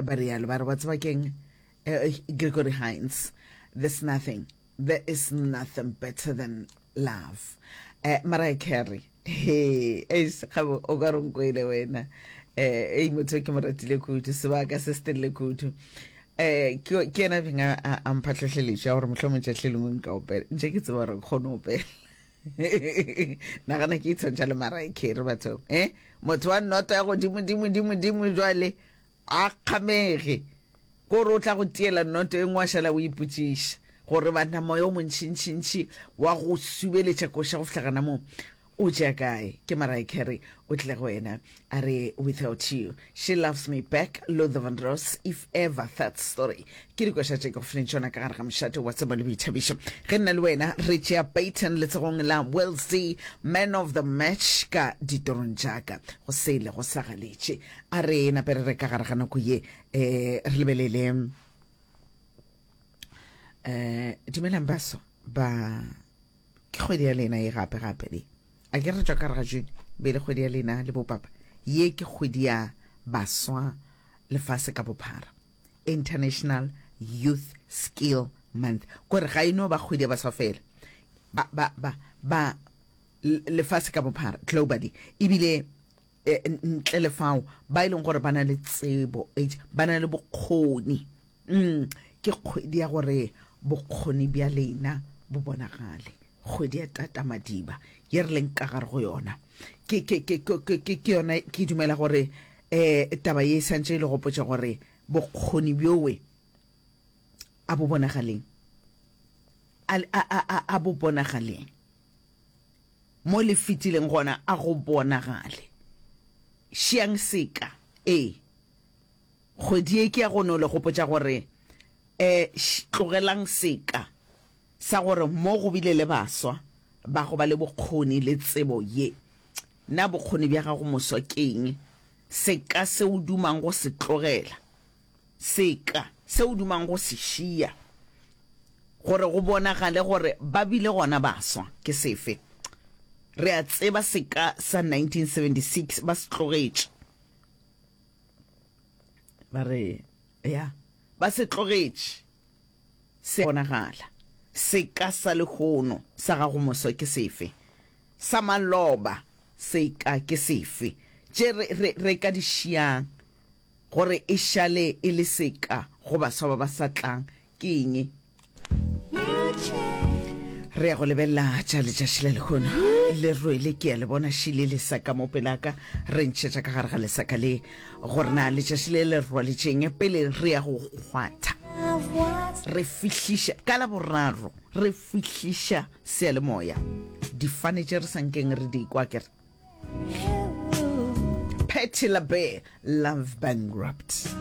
Ba rialo ba re wa tseba keng eh, Gregory Hines there's nothing there is nothing better than love. Eh, Mariah Carey he eish gabo o ka re nkwele wena eh ei motho ke mo ratile kudu sebaka se se telele kudu eh ke ke yena beng a a mpha tlhohleletšo ya gore mohlomong tšatši le lengwe nka opela ntše ke tseba gore ke kgone go opela nagana ke itshwantšha le Mariah Carey batho eh motho wa noto ya godimo dimo dimo dimo jwale a kgamege kore o tla go tiela noto e nngwe wa šala o ipotšiša gore banna moya o montšintšintši wa go subeletša koša go fihla gana moo o tšea kae. Ke Mariah Carey o tlile go wena a re without you she loves me back Luther Vandross if ever that story ke dikoša tše ke go fileng tšona ka gare ga mošate wa tsebo le boithabišo ge nna le wena re tšea Peyton letsogong la Will Z man of the match ka ditorong tšaka go sele go sa galetše A re nape re re ka gare ga nako ye eh re lebelele eh dumelang baso ba ke kgwedi ya lena ye gape gape le a ke re tšwa ka gare ga June be le kgwedi ya lena le bopapa ye ke kgwedi ya baswa lefase ka bophara International Youth Skill Month kore ga e no ba kgwedi ya baswa fela ba ba ba ba lefase ka bophara globally ebile E, ntle le fao, ba e leng gore ba na le tsebo, ba na le bokgoni. Mm, ke kgwedi ya gore bokgoni bja lena bo bonagale. Kgwedi ya Tata Madiba ye re leng ka gare go yona. Ke, ke, ke, ke, ke, ke, ke yona, ke dumela gore eh, taba ye e santše e le gopotša gore bokgoni bjowe a bo bonagaleng. A, a, a, a, a bo bonagaleng. Mo le fetileng gona a go bonagale. Šiang seka. Ee. Kgwedi ye ke ya go no le gopotša gore, e, tlogelang seka sa gore mo go bile le baswa ba go ba le bokgoni le tsebo ye. Na bokgoni bja gago moswa ke eng? Seka se o dumang go se tlogela. Seka se o dumang go se šia gore go bonagale gore ba bile gona baswa ke sefe? Re a tseba seka sa 1976 ba se tlogetše. Ba re, ya, ba se tlogetše. Se a bonagala. Seka sa lehono sa gago moswa ke sefe? Sa maloba seka ke sefe? Tše re, re, re ka di šiang Gore e šale e le seka go baswa ba ba sa tlang ke eng? Re ya go lebelela tša letšatši la lehono. Le rwele ke ya le bona šile lesaka mo pelaka. Re ntšhetša ka gare ga lesaka le gore na letšatši le le rwaletšeng pele re ya go kgwatha. Re fihliša ka la boraro re fihliša seyalemoya difane tše re sa nkeng re di kwa ke re Patti LaBelle, Love Bankrupt.